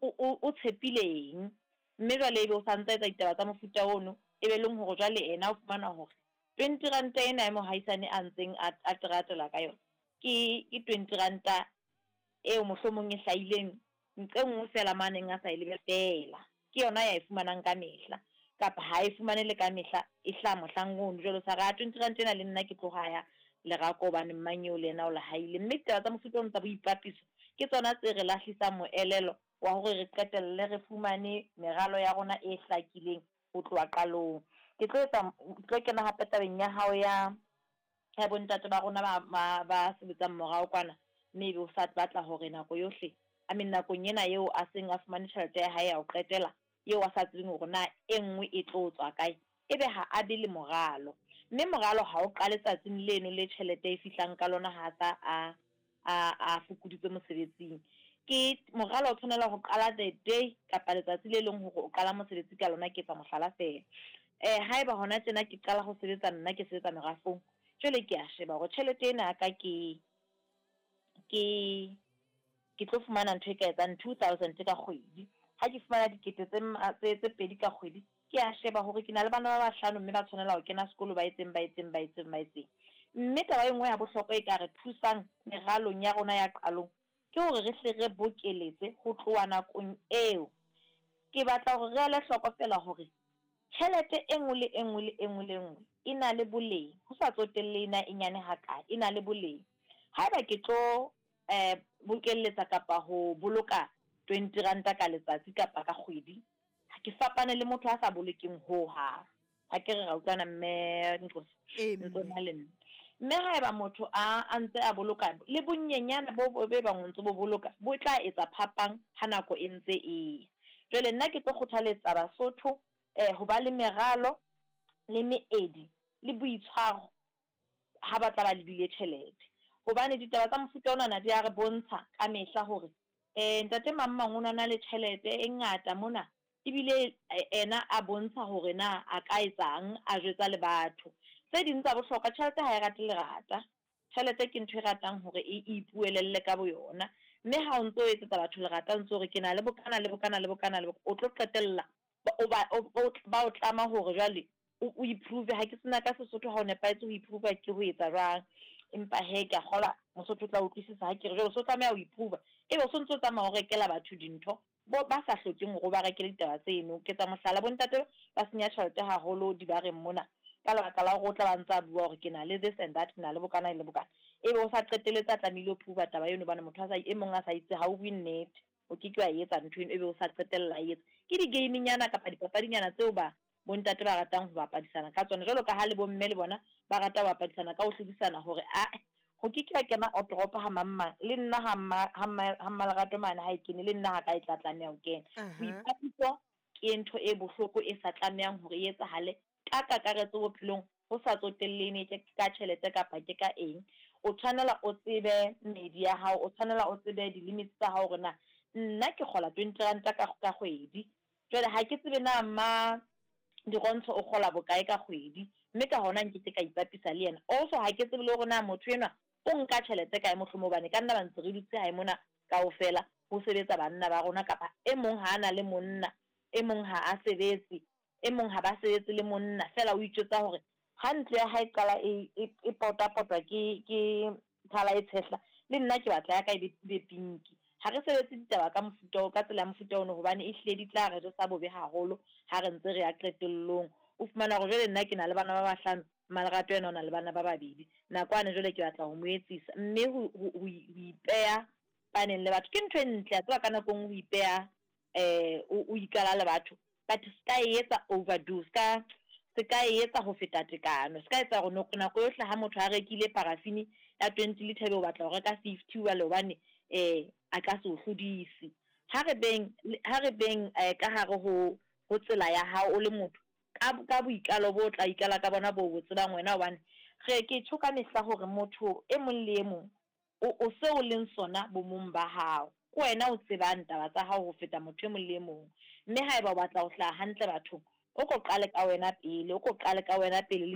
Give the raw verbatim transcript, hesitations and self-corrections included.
o o tshepile eng. Mme jwale ebe o sa ntsa etsa ditaba tsa mofuta ono, e be leng hore jwale ena o fumana hore twenty ranta ena ya mohaisane a ntseng a a teratela ka yona, ke ke twenty ranta eo mohlomong e hlahileng nqe nngwe feela mo a neng a sa e lebella feela. Ke yona ya e fumanang ka mehla, kapa ha e fumane le ka mehla, e hlaha mohlang ono. Jwale o sa re ha twenty ranta ena le nna ke tlo haya lerako hobane mang eo le yena o le haile. Mme ditaba tsa mofuta ono tsa boipapiso ke tsona tse re lahlisang moelelo wa hore re qetelle re fumane meralo ya rona e hlakileng ho tloha qalong. Ke tlo etsa, ke tlo kena hape tabeng ya hao ya ya bontate ba rona ba ba ba sebetsang morao kwana, mme ebe o sa batla hore nako yohle, I mean nakong ena eo a seng a fumane tjhelete ya hae ya ho qetela, eo a sa tsebeng hore na e nngwe e tlo tswa kae, ebe ha a be le moralo. Mme moralo ha o qale tsatsing leno le tjhelete e fihlang ka lona ha sa a a a fokoditswe mosebetsing. Ke moralo o tshwanela ho qala the day kapa letsatsi le leng hore o qala mosebetsi ka lona, ke etsa mohlala feela. Eh haeba hona tjena ke qala ho sebetsa nna ke sebetsa merafong, jwale ke a sheba hore tjhelete ena ya ka ke ke ke tlo fumana ntho e ka etsang two thousand ka kgwedi. Ha ke fumana dikete tse tse tse pedi ka kgwedi, ke a sheba hore ke na le bana ba bahlano mme ba tshwanela ho kena sekolo, ba etseng ba etseng ba etseng ba etseng. Mme taba e nngwe ya bohlokwa e ka re thusang meralong ya rona ya qalong, ke hore re hle re bokeletse ho tloha nakong eo. Ke batla hore re ele hloko feela hore tjhelete e nngwe le e nngwe le e nngwe le e nngwe e na le boleng, ho sa tsotellehe na e nyane hakae, e na le boleng. Haeba ke tlo eh bokelletsa kapa ho boloka twenty ranta ka letsatsi kapa ka kgwedi, ha ke fapane le motho a sa bolokeng ho hang. Ha ke re ra utlwana mme Nkosi, Ee ntse mme. na le nna. Mme haeba motho a a ntse a boloka le bonyenyane bo bo be bang o ntso bo boloka, bo tla etsa phapang ha nako e ntse e ya. Jwale nna ke tlo kgothaletsa Basotho eh ho ba le meralo le meedi le boitshwaro ha ba tla ba lebile tjhelete. Hobane ditaba tsa mofuta onana di a re bontsha ka mehla hore eh ntate mang mang o na na le tjhelete e ngata mona, ebile ena a bontsha hore na a ka etsang, a jwetsa le batho. Tse ding tsa bohlokwa, tjhelete ha e rate lerata. Tjhelete ke ntho e ratang hore e ipuelelle ka boyona. Mme ha o ntso etsetsa batho lerata, o ntso re ke na le bokana le bokana le bokana le o tlo qetella o ba o ba o tlama hore jwale o o i-prove. Ha ke sena ka Sesotho ha o nepahetse ho i-prove ke ho etsa jwang. Empa hee ke a kgolwa Mosotho o tla utlwisisa ha ke re jwale o so tlameha ho i-prove. Ebe o sontso o tsamaya o rekela batho dintho bo ba sa hlokeng hore o ba rekele ditaba tseno. Ke etsa mohlala, bontate ba senya tjhelete haholo dibareng mona ka lebaka la hore o tla ba ntsa bua hore ke na le this and that, ke na le bokana le bokana. Ebe o sa qetelletse a tlamehile ho prove taba eno hobane motho a sa e mong a sa itse ha o bue nnete, o ke ke wa e etsa ntho eno, ebe o sa qetella a e etsa. Ke di-game-nyana kapa dipapadinyana tseo ba bontate ba ratang ho bapadisana ka tsona, jwalo ka ha le bomme le bona ba rata ho bapadisana ka ho hlodisana hore ae ho ke ke ha kena otoropo ha mang mang, le nna ha mma ha mma ha mmalerato mane ha e kene, le nna ha ka e tla tlameha ho kena. Aha. Boipapiso ke ntho e bohloko e sa tlamehang hore e etsahale ka kakaretso bophelong, ho sa tsotellehe ke ka tjhelete kapa ke ka eng. O tshwanela o tsebe medi ya hao, o tshwanela o tsebe di-limits tsa hao hore na nna ke kgola twenty ranta ka ka kgwedi. Jwale ha ke tsebe na mma Dirontsho o kgola bokae ka kgwedi, mme ka hona nkeke ka ipapisa le yena. Also ha ke tsebe le hore na motho enwa o nka tjhelete kae mohlomong, hobane ka nna ba ntse re dutse hae mona kaofela ho sebetsa banna ba rona, kapa e mong ha a na le monna, e mong ha a sebetse, e mong ha ba sebetse le monna. Feela o itjwetsa hore ha ntlo ya hae qala e e e potapotwa ke ke thala e tshehla, le nna ke batla ya ka e be be pinki. Ha re sebetse ditaba ka mofuta o ka tsela ya mofuta ono, hobane ehlile di tla re jesa bobe haholo ha re ntse re ya qetellong. O fumana hore jwale nna ke na le bana ba bahlano, Mmalerato yena o na le bana ba babedi. Nakwane jwale ke batla ho mo etsisa, mme ho ho ho ipeha paneng le batho ke ntho e ntle. A tseba ka nako e nngwe ho ipeha eh o o ikala le batho, but ska e etsa overdo, ska se ka e etsa ho feta tekano. Se ka etsa hore nako yohle ha motho a rekile paraffin ya twenty litre ebe o batla ho reka fifty jwale hobane eh a ka se o hlodise. Ha re beng ha re beng eh ka hare ho ho tsela ya hao o le motho ka ka boikalo bo tla ikala ka bona bo bo tsebang wena, hobane re ke tjho ka mehla hore motho e mong le e mong o o seo o leng sona bomong ba hao. Ke wena o tsebang taba tsa hao ho feta motho e mong le e mong. Mme haeba o batla ho hlaha hantle bathong, o ko qale ka wena pele, o ko qale ka wena pele le